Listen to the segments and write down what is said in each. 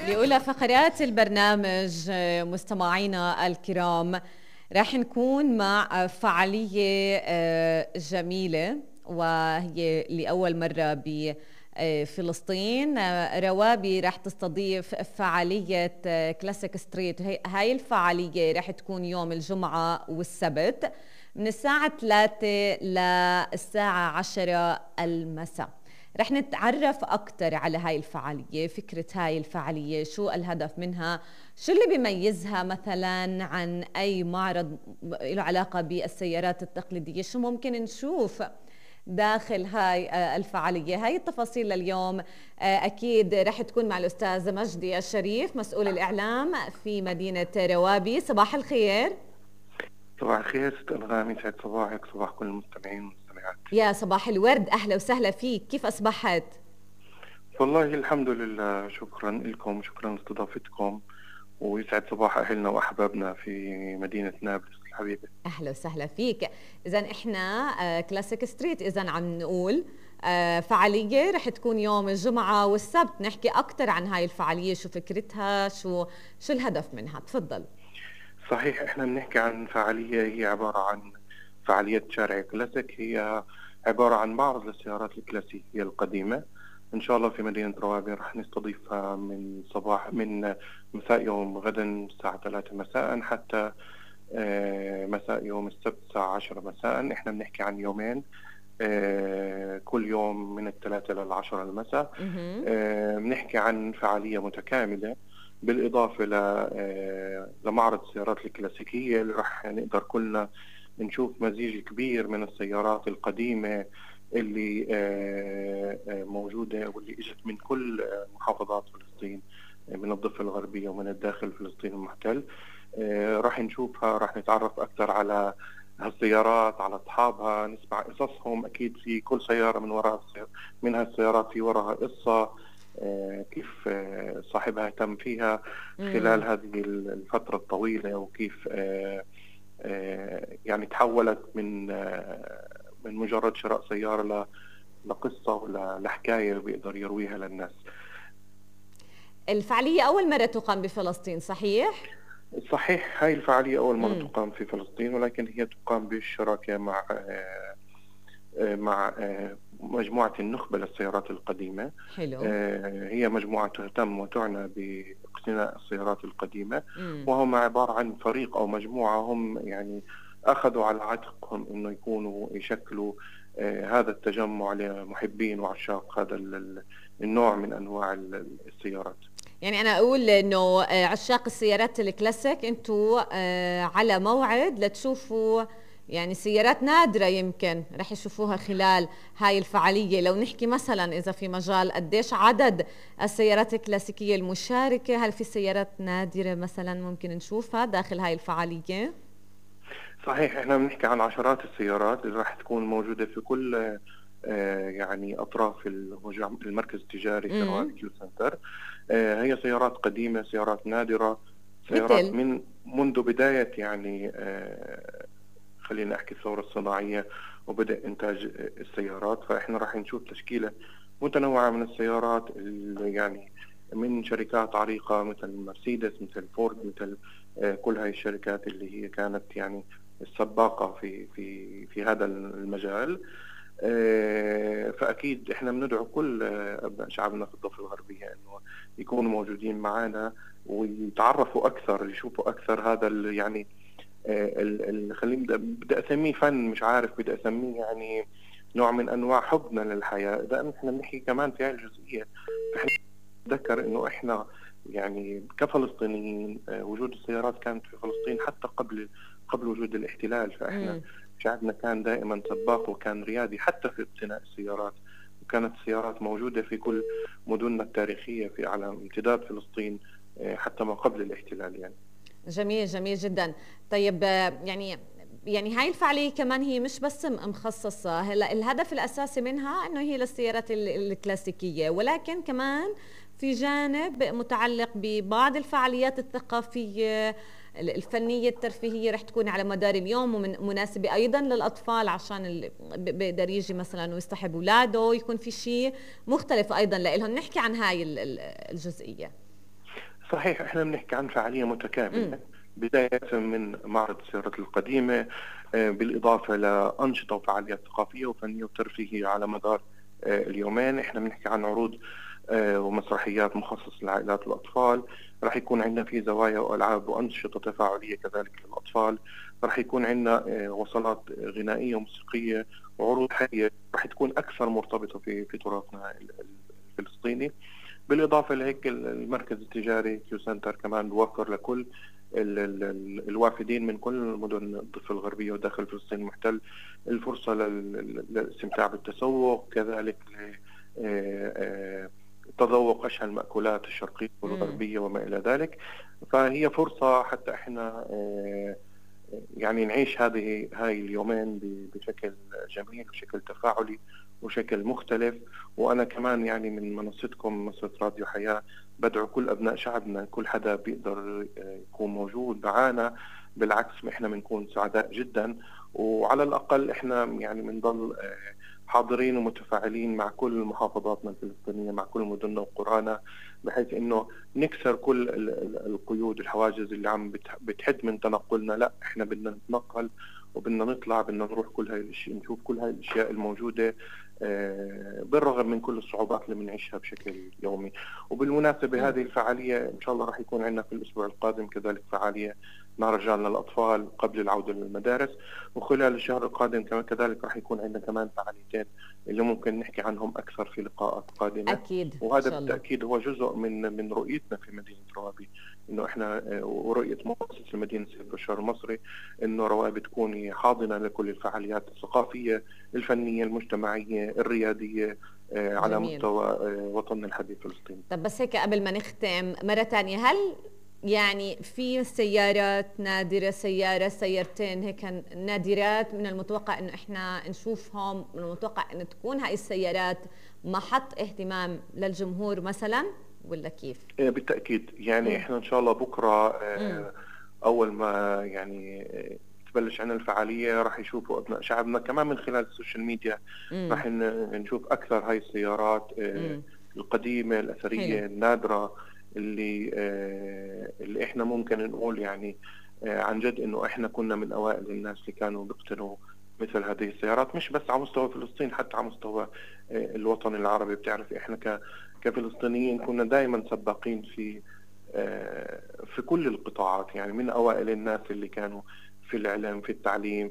بأولى فقرات البرنامج مستمعينا الكرام راح نكون مع فعالية جميلة، وهي لأول مرة بفلسطين. روابي راح تستضيف فعالية كلاسيك ستريت. هاي الفعالية راح تكون يوم الجمعة والسبت من الساعة 3 للساعة 10 المساء. رح نتعرف أكتر على هاي الفعالية، فكرة هاي الفعالية، شو الهدف منها، شو اللي بيميزها مثلا عن أي معرض له علاقة بالسيارات التقليدية، شو ممكن نشوف داخل هاي الفعالية. هاي التفاصيل لليوم أكيد رح تكون مع الأستاذ مجدي الشريف مسؤول الإعلام في مدينة روابي. صباح الخير. صباح الخير ست أنغام، يسعد صباحك، صباح كل المستمعين والمستمعات. يا صباح الورد، أهلا وسهلا فيك، كيف أصبحت؟ والله الحمد لله، شكرا لكم، شكرا لاستضافتكم، ويسعد صباح أهلنا وأحبابنا في مدينة نابلس الحبيبة. أهلا وسهلا فيك. إذن إحنا كلاسيك ستريت، إذن عم نقول فعالية رح تكون يوم الجمعة والسبت. نحكي أكتر عن هاي الفعالية، شو فكرتها، شو الهدف منها. تفضل. صحيح، احنا بنحكي عن فعالية هي عبارة عن فعالية شارع كلاسيك. هي عبارة عن معرض للسيارات الكلاسيكية القديمة. ان شاء الله في مدينة روابي رح نستضيفها من مساء يوم غدا الساعة 3 مساء حتى مساء يوم السبت الساعة 10 مساء. احنا بنحكي عن يومين، كل يوم من 3 لل10 المساء. بنحكي عن فعالية متكاملة بالإضافة لمعرض السيارات الكلاسيكية اللي رح نقدر كلنا نشوف مزيج كبير من السيارات القديمة اللي موجودة واللي اجت من كل محافظات فلسطين، من الضفة الغربية ومن الداخل فلسطين المحتل. رح نشوفها، رح نتعرف أكثر على هالسيارات، على أصحابها، نسمع قصصهم. أكيد في كل سيارة من هالسيارات في وراها قصة، كيف صاحبها اهتم فيها خلال هذه الفترة الطويلة، وكيف يعني تحولت من مجرد شراء سيارة لقصة ولا لحكاية بيقدر يرويها للناس. الفعالية أول مرة تقام بفلسطين، صحيح؟ صحيح، هاي الفعالية أول مرة تقام في فلسطين، ولكن هي تقام بالشراكة مع مجموعة النخبة للسيارات القديمة. حلو. هي مجموعة تهتم وتعنى باقتناء السيارات القديمة، وهم عبارة عن فريق أو مجموعة هم يعني أخذوا على عاتقهم إنه يكونوا يشكلوا هذا التجمع لمحبين وعشاق هذا النوع من أنواع السيارات. يعني أنا أقول إنه عشاق السيارات الكلاسيك أنتوا على موعد لتشوفوا يعني سيارات نادرة يمكن رح يشوفوها خلال هاي الفعالية. لو نحكي مثلا إذا في مجال قديش عدد السيارات الكلاسيكية المشاركة، هل في سيارات نادرة مثلا ممكن نشوفها داخل هاي الفعالية؟ صحيح، احنا بنحكي عن عشرات السيارات اللي راح تكون موجودة في كل يعني أطراف المركز التجاري في روابي كيو سنتر. هي سيارات قديمة، سيارات نادرة، سيارات منذ بداية يعني خلينا أحكي الثورة الصناعية وبدأ إنتاج السيارات. فإحنا راح نشوف تشكيلة متنوعة من السيارات اللي يعني من شركات عريقة مثل مرسيدس، مثل فورد، مثل كل هاي الشركات اللي هي كانت يعني السباقة في هذا المجال. فأكيد إحنا بندعو كل أبناء شعبنا في الضفة الغربية إنه يكونوا موجودين معنا ويتعرفوا أكثر، يشوفوا أكثر هذا يعني خليني بدي أسميه فن، مش عارف بدي أسميه يعني نوع من أنواع حبنا للحياة. إذا إحنا بنحكي كمان في هذه الجزئية، فإحنا نتذكر إنه إحنا يعني كفلسطينيين وجود السيارات كانت في فلسطين حتى قبل وجود الاحتلال. فإحنا شعبنا كان دائما سباق وكان ريادي حتى في اقتناء السيارات، وكانت السيارات موجودة في كل مدننا التاريخية على امتداد فلسطين حتى ما قبل الاحتلال يعني. جميل، جميل جدا. طيب يعني هاي الفعالية كمان هي مش بس مخصصة، هلا الهدف الأساسي منها إنه هي للسيارات الكلاسيكية، ولكن كمان في جانب متعلق ببعض الفعاليات الثقافية الفنية الترفيهية رح تكون على مدار اليوم، ومناسبة أيضا للأطفال عشان اللي بيقدر يجي مثلا ويصطحب أولاده، يكون في شيء مختلف أيضا لإلهم. نحكي عن هاي الجزئية. صحيح، احنا بنحكي عن فعالية متكاملة، بداية من معرض السيارات القديمة، بالإضافة لأنشطة وفعاليات ثقافية وفنية وترفيهية على مدار اليومين. احنا بنحكي عن عروض ومسرحيات مخصصة للعائلات والأطفال. راح يكون عندنا في زوايا وألعاب وأنشطة تفاعلية كذلك للأطفال. راح يكون عندنا وصلات غنائية وموسيقية وعروض حية راح تكون أكثر مرتبطة في تراثنا الفلسطيني. بالإضافة لهيك المركز التجاري كيو سنتر كمان بوفر لكل الوافدين من كل مدن الضفة الغربية وداخل فلسطين المحتل الفرصة للاستمتاع بالتسوق، كذلك تذوق أشهى المأكولات الشرقية والغربية وما إلى ذلك. فهي فرصة حتى إحنا يعني نعيش هاي اليومين بشكل جميل وشكل تفاعلي وشكل مختلف. وأنا كمان يعني من منصتكم منصة راديو حياة بدعو كل أبناء شعبنا، كل حدا بيقدر يكون موجود معنا، بالعكس إحنا بنكون سعداء جدا. وعلى الأقل إحنا يعني بنضل حاضرين ومتفاعلين مع كل محافظاتنا الفلسطينية، مع كل مدننا وقرانا، بحيث إنه نكسر كل القيود الحواجز اللي عم بتحد من تنقلنا. لا، إحنا بدنا نتنقل وبدنا نطلع، بدنا نروح كل هاي الاشياء، نشوف كل هاي الاشياء الموجوده بالرغم من كل الصعوبات اللي بنعيشها بشكل يومي. وبالمناسبه هذه الفعاليه ان شاء الله راح يكون عندنا في الاسبوع القادم كذلك فعاليه مهرجان للاطفال قبل العوده للمدارس، وخلال الشهر القادم كذلك راح يكون عندنا كمان فعاليتين اللي ممكن نحكي عنهم اكثر في لقاءات قادمه. اكيد. وهذا بالتاكيد هو جزء من رؤيتنا في مدينه روابي، انه احنا ورؤيه مؤسسه المدينه سيد بشار المصري انه روابي تكون حاضنه لكل الفعاليات الثقافيه الفنيه المجتمعيه الرياديه على جميل. مستوى وطننا الحبيب فلسطين. طب بس هيك قبل ما نختم مرة تانية، هل يعني في سيارات نادرة، سيارتين هيك نادرات من المتوقع انه احنا نشوفهم، من المتوقع انه تكون هاي السيارات محط اهتمام للجمهور مثلا، ولا كيف؟ بالتأكيد يعني احنا ان شاء الله بكرة اول ما يعني تبلش عنا الفعالية راح يشوفوا ابناء شعبنا كمان من خلال السوشيال ميديا، راح نشوف اكثر هاي السيارات القديمة الاثرية حلو. النادرة اللي احنا ممكن نقول يعني عن جد انه احنا كنا من اوائل الناس اللي كانوا بيقتنوا مثل هذه السيارات، مش بس على مستوى فلسطين حتى على مستوى الوطن العربي. بتعرف احنا كفلسطينيين كنا دائما سباقين في كل القطاعات، يعني من اوائل الناس اللي كانوا في الاعلام، في التعليم،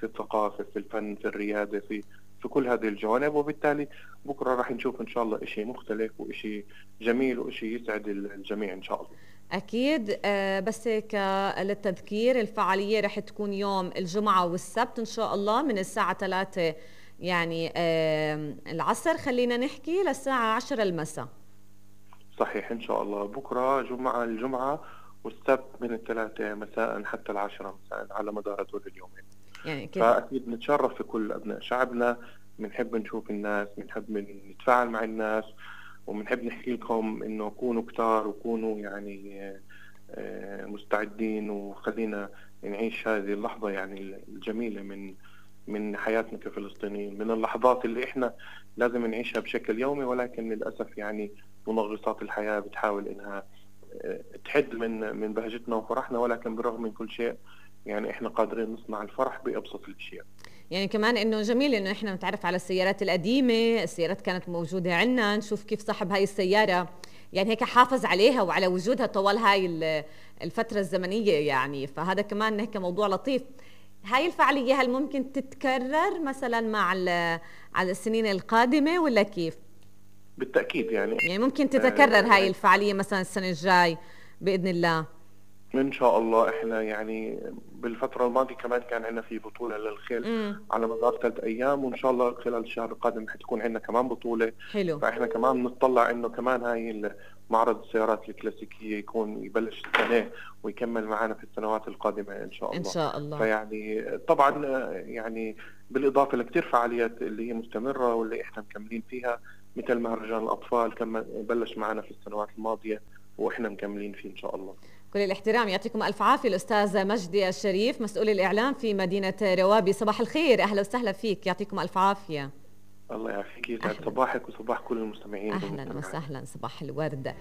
في الثقافة، في الفن، في الريادة، في كل هذه الجوانب. وبالتالي بكرة راح نشوف إن شاء الله إشي مختلف وإشي جميل وإشي يسعد الجميع إن شاء الله. أكيد. بس هيك للتذكير الفعالية رح تكون يوم الجمعة والسبت إن شاء الله من الساعة 3 يعني العصر خلينا نحكي للساعة 10 المساء. صحيح إن شاء الله بكرة الجمعة والسبت من 3 مساء حتى 10 مساء على مدار هدول اليومين. يعني فأكيد نتشرف في كل أبناء شعبنا، بنحب نشوف الناس، بنحب نتفاعل مع الناس، وبنحب نحكي لكم إنه كونوا كتار وكونوا يعني مستعدين، وخلينا نعيش هذه اللحظة يعني الجميلة من حياتنا كفلسطينيين، من اللحظات اللي إحنا لازم نعيشها بشكل يومي، ولكن للأسف يعني منغصات الحياة بتحاول إنها تحد من بهجتنا وفرحنا، ولكن بالرغم من كل شيء يعني احنا قادرين نصنع الفرح بأبسط الاشياء. يعني كمان انه جميل انه احنا نتعرف على السيارات القديمة، السيارات كانت موجودة عندنا، نشوف كيف صاحب هاي السيارة يعني هيك حافظ عليها وعلى وجودها طوال هاي الفترة الزمنية يعني. فهذا كمان هيك موضوع لطيف. هاي الفعالية هل ممكن تتكرر مثلا مع على السنين القادمة ولا كيف؟ بالتأكيد يعني ممكن تتكرر هاي الفعالية مثلا السنة الجاي بإذن الله. إن شاء الله. إحنا يعني بالفترة الماضية كمان كان عندنا في بطولة للخيل على مدار 3 أيام، وإن شاء الله خلال الشهر القادم حتكون عندنا كمان بطولة. حلو. فإحنا كمان نتطلع إنه كمان هاي معرض السيارات الكلاسيكية يبلش السنة ويكمل معنا في السنوات القادمة إن شاء الله. إن شاء الله. فيعني طبعا يعني بالإضافة لكتير فعاليات اللي هي مستمرة واللي إحنا مكملين فيها، مثل مهرجان الأطفال كمان بلش معنا في السنوات الماضية وإحنا مكملين فيه إن شاء الله. كل الاحترام، يعطيكم ألف عافية. الأستاذ مجدي الشريف مسؤول الإعلام في مدينة روابي، صباح الخير، أهلا وسهلا فيك، يعطيكم ألف عافية. الله يعافيك، يسعد صباحك وصباح كل المستمعين. أهلا وسهلا، صباح الورد.